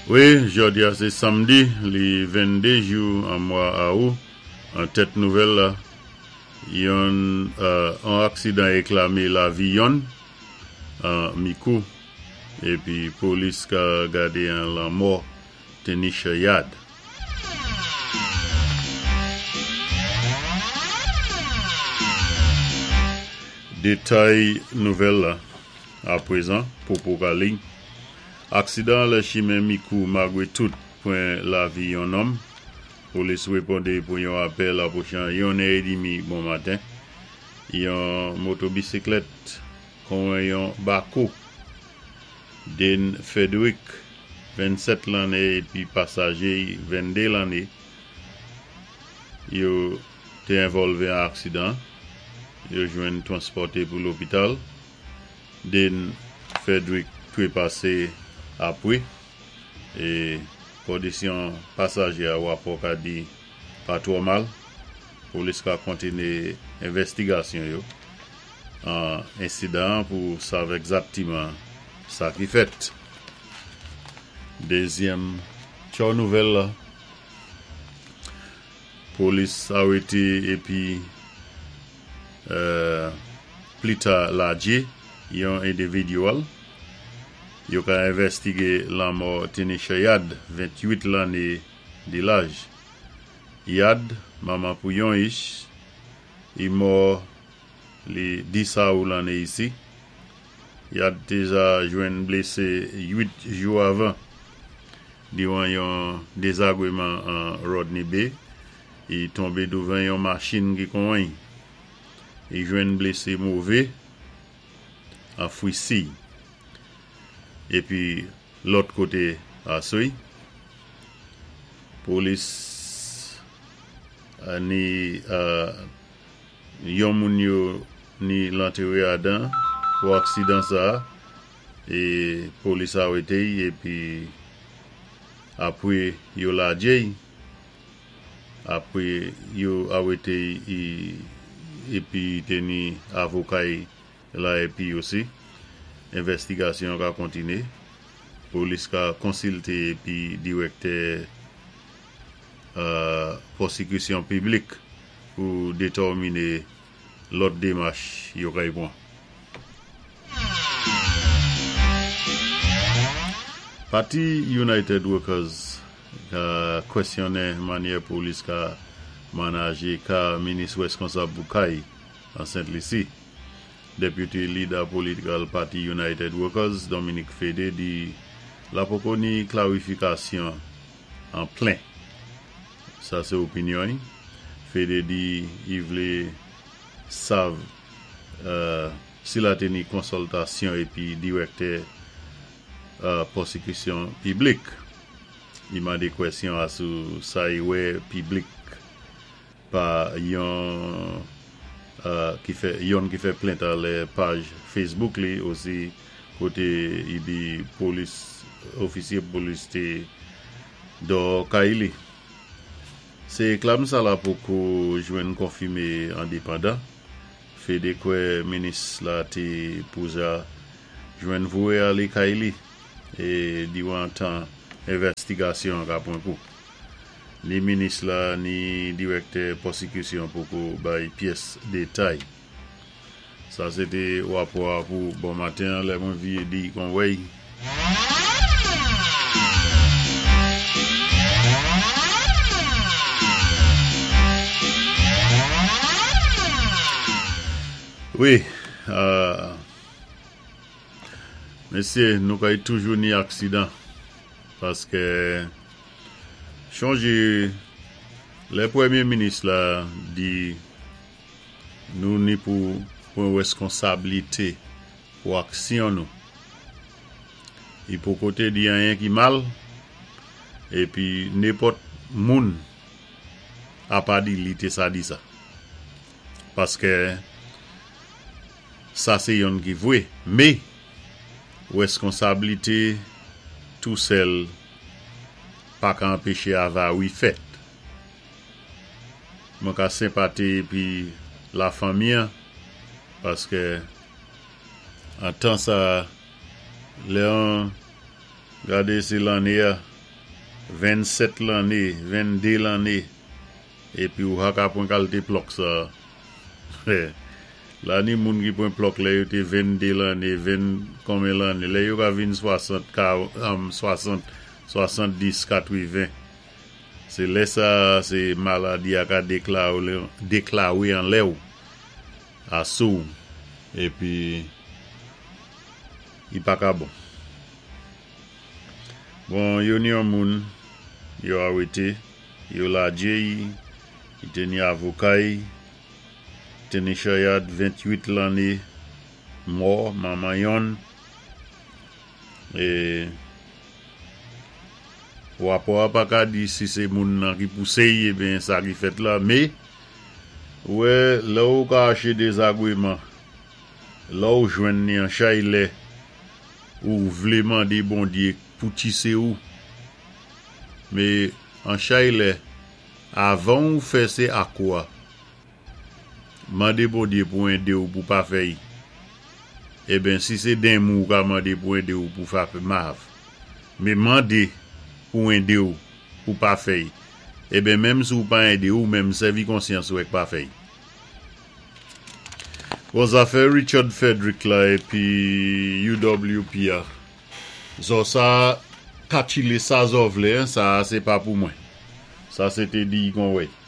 Wi, jòdi a sé samdi, li 22 jou an mwa Awou. An tèt nouvèl la, yon an aksidan éklamé lavi yonn an Mikou épi polis ka gadé an lanmò Tenisha Yard. Détay nouvèl la apwézan popo ka liy. Aksidan an lè chimen Mikou magwé tout pwan lavi yon nonm. Polis wépondé pou yon apèl apwochan yon è édmi bon maten. Yon motobisiklèt konwen yon bako. Dane Frederick, 27 lanné épi pasaje y 22 lanné yo té envòlvé an aksidan. Yo jwenn twanspòté pou lopital. Dane Frederick twépasé apwé é kondisyon pasaje a wapò ka di pa twò mal. Polis ka kontiné envèstigasyon yo an ensidan an pou sav ègzaktiman sa ki fèt. Dézyèm tchò nouvèl la, polis arété épi Plita ladje yon endividyèl yo ka envèstige lanmò Tinisha Yard, 28 lanne di laj. Yard, manman pou yon ich, i mò li 10 awou lanne isi. Yard te ja jwenn blésé 8 jou avan diwan yon dézagwéman an Rodney Bay I tonbé douvan yon machin ki konwen. I jwenn blésé mové an fwisi. Épi lòt koté aswé, polis ni yon moun yo ni lantéwé adan pou aksidan sa é polis arété-y épi apwé yo ladjé-y. Apwé yo awété-y épi té ni avoka-y la épi osi. Envèstigasyon ka kontiné. Polis ka konsilté épi dirèktè pwosikisyon piblik pou détèminé lòt démach yo kay pwan. Pati United Workers ka kwèsyonnen mannyè polis ka manaje ka minis rèskonsab pou kay an Sent Lisi. Deputy Leader Political Pati United Workers, Dominic Fedee di la poko ni klarifikasyon an plen. Sa sé opinyon-y. Fedee di i vlé sav si la té ni konsòltasyon épi dirèktè pwosikisyon piblik. I mandé kwèsyon asou sa i wè piblik pa yon ki fè yonn ki fè plent alè paj Facebook li osi koté i di polis ofisye polis té dò kay li. Sé éklam sa la poko jwenn konfimé endepandan. Fedee kwè minis la té pouja jwenn voyé alé kay li é diwan tan envèstigasyon an ka pwan kou. Ni minis la ni dirèktè pwosikisyon poko bay pyès détay. Sa sé té wapò a pou bon maten an lè mwen viyé di kon wèy. Wi, mesyé nou kay toujou ni aksidan paskè chonjé lè pwèmyé minis la di Nou ni pou pwan rèskonsablité pou aksyon nou. I poko té di anyen ki mal, épi nenpòt moun apa di li té sa di sa. Paskè sa sé yonn ki vwé, mé rèskonsablité tou sèl pa ka anpéché avari fèt. Mwen ka senpati epi la fanmi an paske an tan sa lè an gade se lanne a. 27 lanné, 22 lanné, épi ou pa ka pwan kalté plòk sa. La ni moun ki pwan plòk lè yo té 22 lanné, 20 konbyen lanné, lè yo ka vin 60, 60, 70, 80. Sé lè sa sé maladi a ka déklawé anlè ou, asou, épi i pa ka bon. Bon, yo ni yon moun, yo arété, yo ladjé-y, i té ni avoka-y, Tanisha Yard, 28 lanné, mò, manman yonn, é wapò a pa ka di si sé moun nan ki pousé-y ébyen sa ki fèt la, mé ou wè lè ou ka aché dézagwéman, lè ou jwenn ni an chay lè ou vlé mandé Bondyé pou tisé ou, mé an chay lè avan ou fè sé ak ou a. Mandé Bondyé pou édé ou pou pa fè-y. Eben, si sé denmon ou ka mandé pou édé ou pou fa mav. Mé mandé pou édé ou pou pa fè-y. Eben, menm si ou pa édé ou, menm sèvi konsyans ou èk pa fè-y. Bon, zafè Richard Frederick la épi UWP a. Zò sa, katchilé sa zò vlé, sa sé pa pou mwen. Sa sé té di Conway.